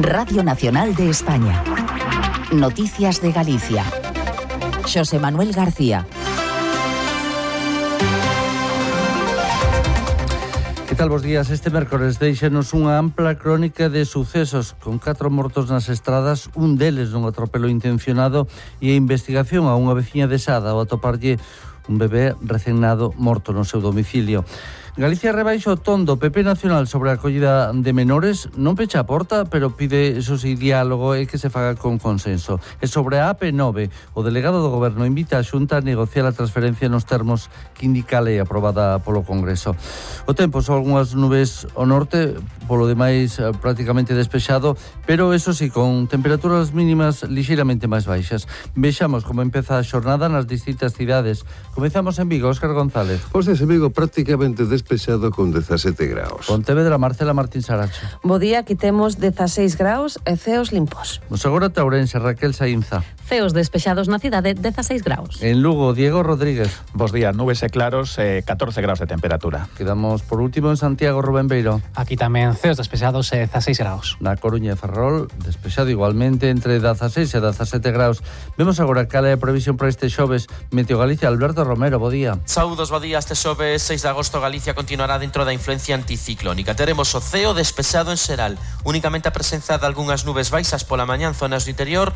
Radio Nacional de España. Noticias de Galicia. Xosé Manuel García. Que tal, bos días? Este mércores deixanos unha ampla crónica de sucesos con 4 mortos nas estradas, un deles nun atropelo intencionado e a investigación a unha veciña de Sada ao atoparlle un bebé recén nado morto no seu domicilio. Galicia rebaixa o ton do PP Nacional sobre a acollida de menores, non pecha a porta, pero pide, eso sí, diálogo e que se faga con consenso. E sobre a AP9, o delegado do Goberno invita a Xunta a negociar a transferencia nos termos que indica a lei aprobada polo Congreso. O tempo son algunhas nubes ao norte, polo demais prácticamente despexado, pero eso sí, con temperaturas mínimas lixeiramente máis baixas. Vexamos como empeza a xornada nas distintas cidades. Comezamos en Vigo, Óscar González. Pois en Vigo prácticamente despexado con 17 graus. Pontevedra, Marcela Martín Saracho. Bo día, aquí temos 16 graus e ceos limpos. Nos agora Taurense, Raquel Saínza. Ceos despexados na cidade, 16 graus. En Lugo, Diego Rodríguez. Bos días, nubes e claros, 14 graus de temperatura. Quedamos por último en Santiago, Rubén Beiro. Aquí tamén ceos despexados e 16 graus. Na Coruña e Ferrol, despexado igualmente entre 16 e 17 graus. Vemos agora cal é a previsión para este xoves. Meteo Galicia, Alberto Romero, bo día. Saúdos, bo día. Este xoves 6 de agosto Galicia continuará dentro da influencia anticiclónica. Teremos o ceo despexado en xeral, únicamente a presenza de algunhas nubes baixas pola mañá en zonas do interior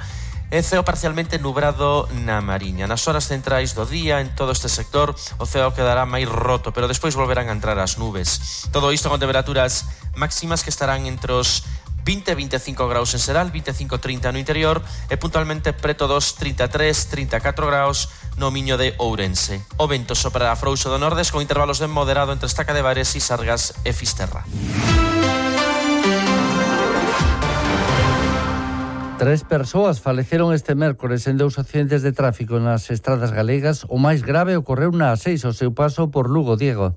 e ceo parcialmente nubrado na Mariña. Nas horas centrais do día, en todo este sector, o ceo quedará máis roto, pero despois volverán a entrar as nubes. Todo isto con temperaturas máximas que estarán entre os 20-25 graus en xeral, 25-30 no interior e puntualmente preto dos 33-34 graus no Miño de Ourense. O vento soprará frouxo do nordes con intervalos de moderado entre Estaca de Bares e Sargas e Fisterra. 3 persoas faleceron este mércores en 2 accidentes de tráfico nas estradas galegas. O máis grave ocorreu na A6 ao seu paso por Lugo, Diego.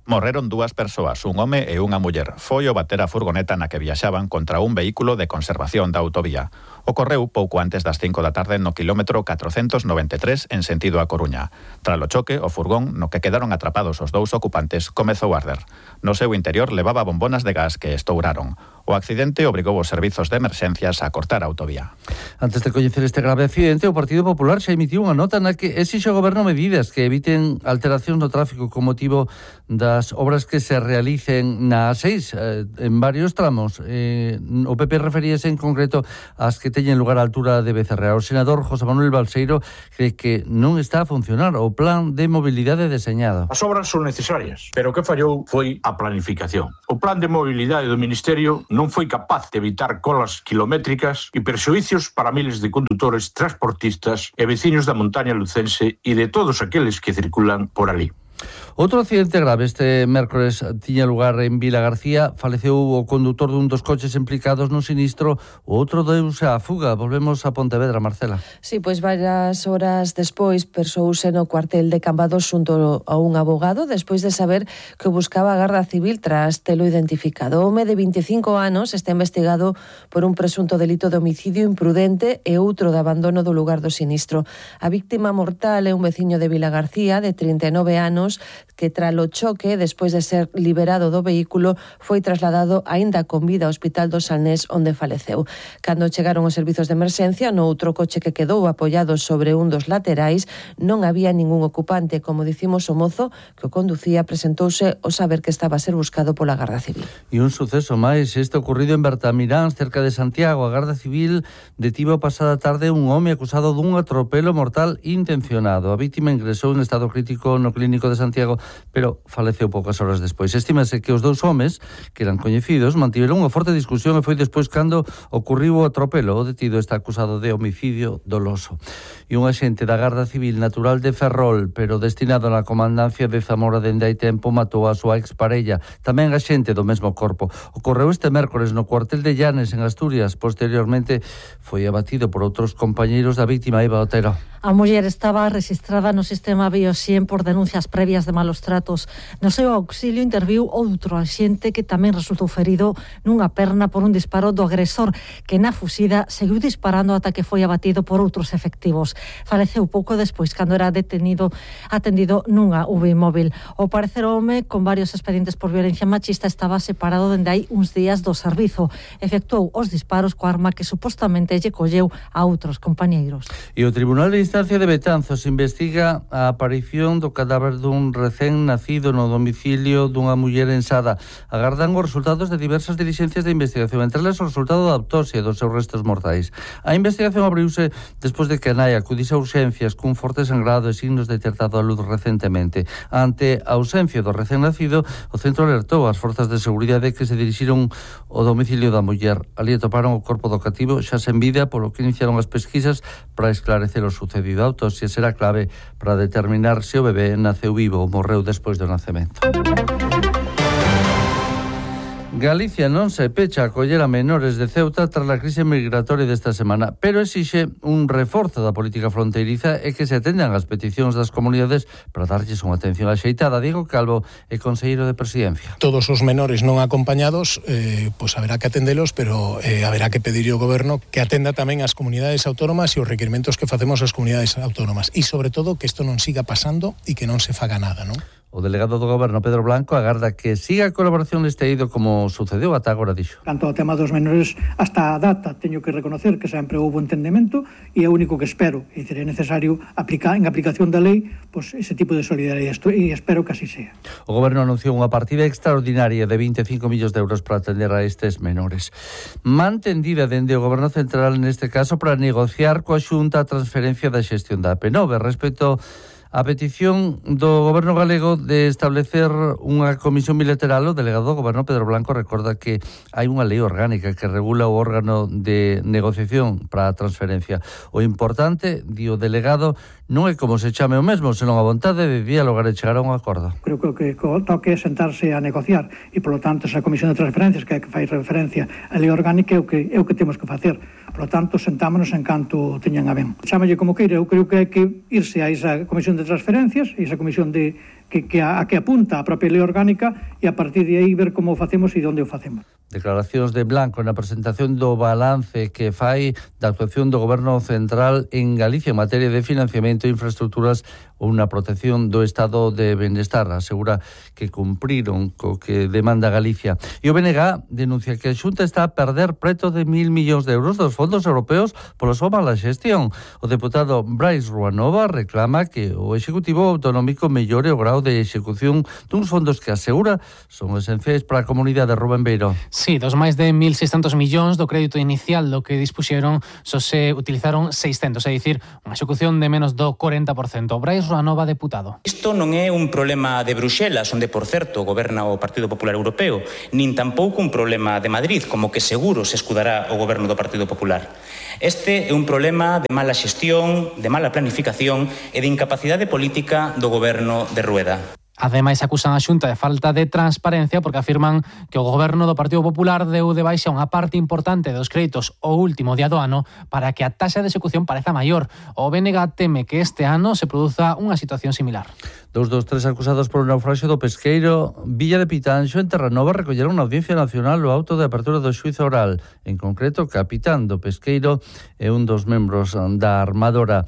Morreron 2 persoas, un home e unha muller. Foi o bater a furgoneta na que viaxaban contra un vehículo de conservación da autovía. Ocorreu pouco antes das 5 da tarde no quilómetro 493 en sentido a Coruña. Tras o choque, o furgón no que quedaron atrapados os 2 ocupantes comezou a arder. No seu interior levaba bombonas de gas que estouraron. O accidente obrigou os servizos de emerxencias a cortar a autovía. Antes de coñecer este grave accidente, o Partido Popular xa emitiu unha nota na que exixe ao Goberno medidas que eviten alteracións no tráfico con motivo das obras que se realicen na A6 en varios tramos. O PP referíase en concreto ás que teñen lugar á altura de Becerra. O senador José Manuel Balseiro cree que non está a funcionar o plan de mobilidade deseñado. As obras son necesarias, pero o que fallou foi a planificación. O plan de mobilidade do Ministerio non foi capaz de evitar colas kilométricas e perxuicios para miles de condutores, transportistas e veciños da montaña lucense e de todos aqueles que circulan por ali. Outro accidente grave este mércores tiña lugar en Vila García. Faleceu o condutor dun dos coches implicados no sinistro, o outro deuse á fuga. Volvemos a Pontevedra, Marcela. Sí, pois varias horas despois persouse no cuartel de Cambados xunto a un abogado despois de saber que buscaba a Garda Civil tras telo identificado. O home de 25 anos está investigado por un presunto delito de homicidio imprudente e outro de abandono do lugar do sinistro. A víctima mortal é un veciño de Vila García de 39 anos que tralo choque, despois de ser liberado do vehículo, foi trasladado aínda con vida ao Hospital do Salnés, onde faleceu. Cando chegaron os servizos de emerxencia, no outro coche que quedou apoiado sobre un dos laterais, non había ningún ocupante. Como dicimos, o mozo que o conducía presentouse ao saber que estaba a ser buscado pola Garda Civil. E un suceso máis, este ocorrido en Bertamiráns, cerca de Santiago. A Garda Civil detivo a pasada tarde un home acusado dun atropelo mortal intencionado. A vítima ingresou en estado crítico no clínico de Santiago, pero faleceu poucas horas despois. Estímase que os 2 homes, que eran coñecidos, mantiveron unha forte discusión e foi despois cando ocurriu o atropelo. O detido está acusado de homicidio doloso. E un axente da Garda Civil natural de Ferrol, pero destinado na comandancia de Zamora dende hai tempo, matou a súa exparella, tamén axente do mesmo corpo. Ocorreu este mércores no cuartel de Llanes, en Asturias. Posteriormente foi abatido por outros compañeiros da vítima, Eva Otero. A muller estaba registrada no sistema Biosien por denuncias previas de malos malos tratos. No seu auxilio interviu outro axente que tamén resultou ferido nunha perna por un disparo do agresor, que na fuxida seguiu disparando ata que foi abatido por outros efectivos. Faleceu pouco despois cando era atendido nunha UBI móvil. O parecer o home, con varios expedientes por violencia machista, estaba separado dende hai uns días do servizo. Efectuou os disparos coa arma que supostamente lle colleu a outros compañeiros. E o Tribunal de Instancia de Betanzos investiga a aparición do cadáver dun recén nacido no domicilio dunha muller en Sada. Agardan os resultados de diversas dilixencias de investigación, entre elas o resultado da autopsia dos seus restos mortais. A investigación abriuse despois de que a nai acudise a urxencias cun forte sangrado e signos detectado a luz recentemente. Ante a ausencia do recén nacido, o centro alertou as forzas de seguridade que se dirixiron ao domicilio da muller. Ali atoparon o corpo do cativo xa sen vida, polo que iniciaron as pesquisas para esclarecer o sucedido. A autopsia será clave para determinar se o bebé naceu vivo ou morreu despois do nacemento. Galicia non se pecha a acoller a menores de Ceuta tras a crise migratoria desta semana, pero exixe un reforzo da política fronteiriza e que se atendan as peticións das comunidades para darlles unha atención axeitada. Diego Calvo é conselleiro de Presidencia. Todos os menores non acompañados, pois haberá que atendelos, pero haberá que pedirlle ao goberno que atenda tamén as comunidades autónomas e os requerimentos que facemos as comunidades autónomas. E, sobre todo, que isto non siga pasando e que non se faga nada, non? O delegado do Goberno, Pedro Blanco, agarda que siga a colaboración neste eido como sucedeu ata agora, dixo. Canto ao tema dos menores, hasta a data teño que reconocer que sempre houve entendemento e é o único que espero. É dicir, é necesario aplicar en aplicación da lei pois, ese tipo de solidaridade e espero que así sea. O Goberno anunciou unha partida extraordinaria de 25 millóns de euros para atender a estes menores. Mantendida dende o Goberno Central neste caso para negociar coa Xunta a transferencia da xestión da AP9 respecto a petición do Goberno galego de establecer unha comisión bilateral. O delegado do Goberno, Pedro Blanco, recorda que hai unha lei orgánica que regula o órgano de negociación para a transferencia. O importante, di o delegado, non é como se chame o mesmo, senón a vontade de dialogar e chegar a un acordo. Creo que o que toque é sentarse a negociar e, polo tanto, esa comisión de transferencias que fai referencia á lei orgánica é o que temos que facer. Polo tanto, sentámonos en canto teñan a ben. Chámalle como queira, eu creo que hai que irse a esa comisión de transferencias, esa comisión que apunta a propia lei orgánica e a partir de aí ver como o facemos e onde o facemos. Declaracións de Blanco na presentación do balance que fai da actuación do Goberno Central en Galicia en materia de financiamento, infraestructuras ou na protección do estado de benestar. Asegura que cumpriron co que demanda Galicia. E o BNG denuncia que a Xunta está a perder preto de 1.000 millóns de euros dos fondos europeos pola súa mala xestión. O deputado Brais Ruanova reclama que o Executivo Autonómico mellore o grau de execución duns fondos que asegura son esenciais para a comunidade. Rubén Beiro. Sí, dos máis de 1.600 millóns do crédito inicial do que dispuxeron só se utilizaron 600, é dicir, unha execución de menos do 40%. Brais Ruanova, deputado. Isto non é un problema de Bruxelas, onde, por certo, goberna o Partido Popular Europeo, nin tampouco un problema de Madrid, como que seguro se escudará o goberno do Partido Popular. Este é un problema de mala xestión, de mala planificación e de incapacidade política do goberno de Rueda. Ademais, acusan a Xunta de falta de transparencia porque afirman que o goberno do Partido Popular deu de baixa unha parte importante dos créditos o último día do ano para que a taxa de execución pareza maior. O BNG teme que este ano se produza unha situación similar. 2 dos 3 acusados por un naufraxio do pesqueiro Villa de Pitanxo en Terranova recolleron na Audiencia Nacional o auto de apertura do xuízo oral. En concreto, o capitán do pesqueiro e un dos membros da armadora.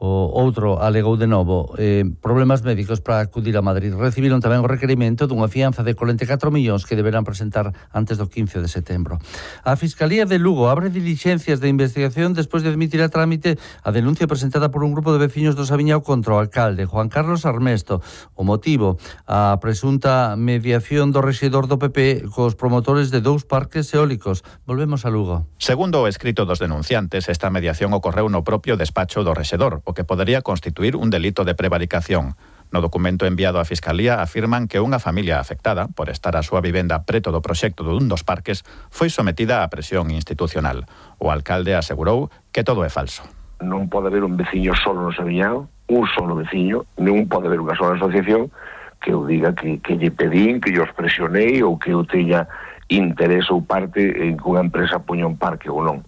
O outro alegou de novo problemas médicos para acudir a Madrid. Recibiron tamén o requerimento dunha fianza de 44 millóns que deberán presentar antes do 15 de setembro. A Fiscalía de Lugo abre dilixencias de investigación despois de admitir a trámite a denuncia presentada por un grupo de veciños do Sabiñao contra o alcalde Juan Carlos Armesto. O motivo, a presunta mediación do rexedor do PP cos promotores de 2 parques eólicos. Volvemos a Lugo. Segundo o escrito dos denunciantes, esta mediación ocorreu no propio despacho do rexedor, o que podería constituir un delito de prevaricación. No documento enviado á Fiscalía afirman que unha familia afectada por estar a súa vivenda preto do proxecto dun dos parques foi sometida á presión institucional. O alcalde asegurou que todo é falso. Non pode haber un veciño solo no Sabiñao, un solo veciño, non pode haber unha sola asociación que eu diga que lle pedín, que yo os presionei ou que eu teña interés ou parte en que unha empresa poña un parque ou non.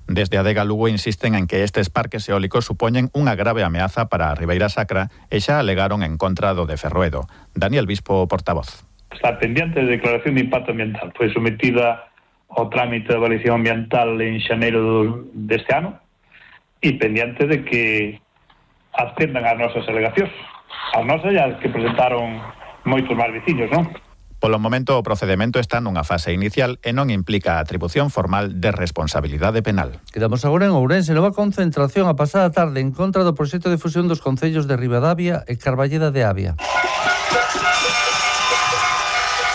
Desde Adega Lugo insisten en que estes parques eólicos supoñen unha grave ameaza para a Ribeira Sacra e xa alegaron en contra do de Ferroedo. Daniel Bispo, portavoz. Está pendiente de declaración de impacto ambiental. Foi sometida ao trámite de avaliación ambiental en xaneiro deste ano e pendiente de que atendan as nosas alegacións. As nosas e as que presentaron moitos máis veciños, non? Polo momento, o procedemento está nunha fase inicial e non implica a atribución formal de responsabilidade penal. Quedamos agora en Ourense, nova concentración a pasada tarde en contra do proxecto de fusión dos concellos de Ribadavia e Carballeda de Avia.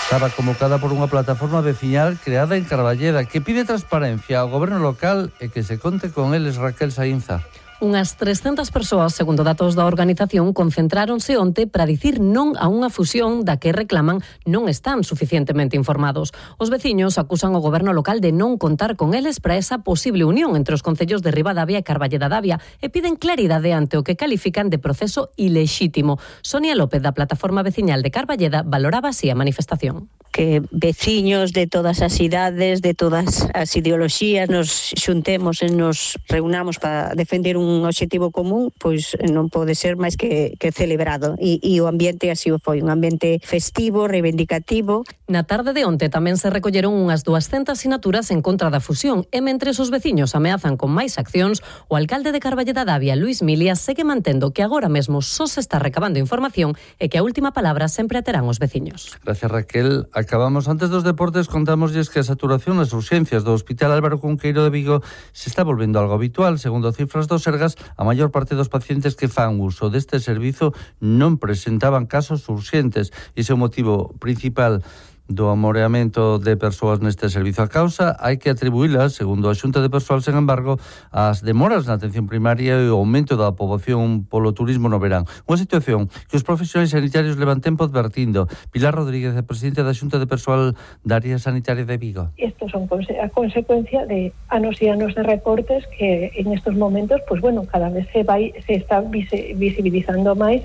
Estaba convocada por unha plataforma veciñal creada en Carballeda que pide transparencia ao goberno local e que se conte con eles. Raquel Saínza. Unhas 300 persoas, segundo datos da organización, concentráronse onte para dicir non a unha fusión da que reclaman non están suficientemente informados. Os veciños acusan o goberno local de non contar con eles para esa posible unión entre os concellos de Ribadavia e Carballeda de Avia e piden claridade ante o que califican de proceso ilexítimo. Sonia López, da plataforma veciñal de Carballeda, valoraba así a manifestación. Que veciños de todas as idades, de todas as ideoloxías, nos xuntemos e nos reunamos para defender un obxectivo común, pois non pode ser máis que celebrado. E o ambiente así o foi, un ambiente festivo, reivindicativo. Na tarde de onte tamén se recolleron unhas 200 sinaturas en contra da fusión e mentres os veciños ameazan con máis accións, o alcalde de Carballeda de Avia, Luis Milia, segue mantendo que agora mesmo só se está recabando información e que a última palabra sempre a terán os veciños. Gracias, Raquel. Acabamos antes dos deportes, contámoslles que a saturación nas urxencias do Hospital Álvaro Cunqueiro de Vigo se está volvendo algo habitual. Segundo cifras do Sergas, a maior parte dos pacientes que fan uso deste servizo non presentaban casos urxentes. Ese é o motivo principal do amoreamento de persoas neste servizo. A causa hai que atribuílas, segundo a Xunta de Persoal, sen embargo, as demoras na atención primaria e o aumento da poboación polo turismo no verán. Unha situación que os profesionais sanitarios levan tempo advertindo. Pilar Rodríguez, presidente da Xunta de Persoal da Área Sanitaria de Vigo. Estos son a consecuencia de anos e anos de recortes que en estos momentos, pues bueno, cada vez se está visibilizando máis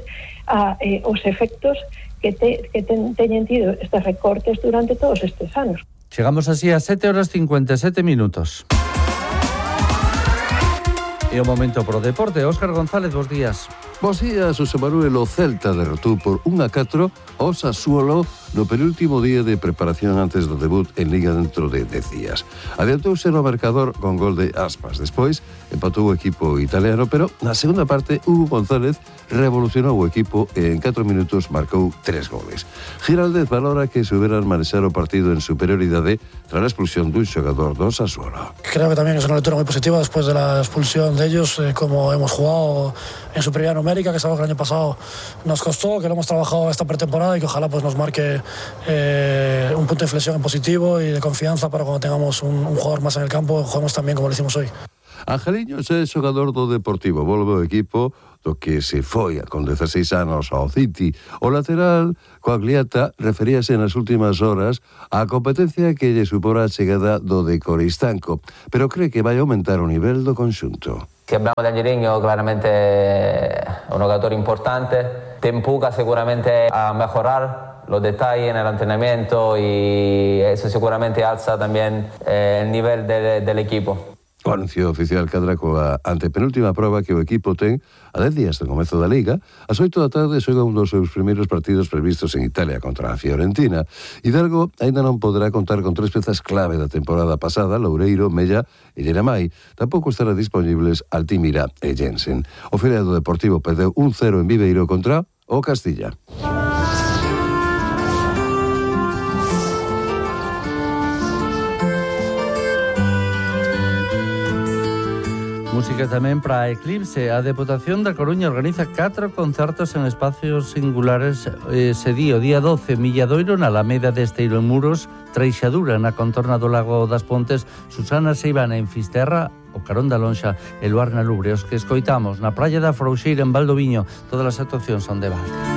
os efectos que teñen tido estes recortes durante todos estes anos. Chegamos así a 7:57. E o momento pro deporte. Óscar González, bos días. Bos días, José Manuel. O Celta derrotou por 1-4 ao Sassuolo no penúltimo día de preparación antes do debut en Liga dentro de 10 días. Adiantouse no marcador con gol de Aspas. Despois empatou o equipo italiano, pero na segunda parte Hugo González revolucionou o equipo e en 4 minutos marcou 3 goles. Giraldez valora que souberan manexar o partido en superioridade tras a expulsión dun xogador do Sassuolo. Creo que también es una lectura muy positiva después de la expulsión de ellos, como hemos jugado en superioridad numérica, que sabemos que el año pasado nos costó, que lo hemos trabajado esta pretemporada y que ojalá pues nos marque un punto de inflexión en positivo y de confianza para cuando tengamos un jugador más en el campo, juguemos tan bien como lo hicimos hoy. Angeliño é xogador do Deportivo, volve o equipo do que se foi con 16 anos ao City. O lateral, Coagliata, referíase nas últimas horas á competencia que lle supora a chegada do de Coristanco, pero cree que vai aumentar o nivel do conxunto. Si hablamos de Angeliño, claramente un jugador importante, te empuja seguramente a mejorar los detalles en el entrenamiento y eso seguramente alza también el nivel del equipo. O anuncio oficial cadra coa antepenúltima proba que o equipo ten a 10 días do comezo da Liga. Ás 8 da tarde xoga un dos seus primeiros partidos previstos en Italia contra a Fiorentina. Hidalgo aínda non poderá contar con 3 pezas clave da temporada pasada, Loureiro, Mella e Lleramai. Tampouco estará disponibles Altimira e Jensen. O filial do Deportivo perdeu 1-0 en Viveiro contra o Castilla. Música tamén para Eclipse. A Deputación da Coruña organiza 4 concertos en espacios singulares ese día, o día 12, Milladoiro na Alameda de Esteiro en Muros, Treixadura na contorna do Lago das Pontes, Susana Seivana en Fisterra, o Carón da Lonxa e Luar na Lubre. Os que escoitamos na Praia da Frouxeira en Valdoviño, todas as actuacións son de Valde.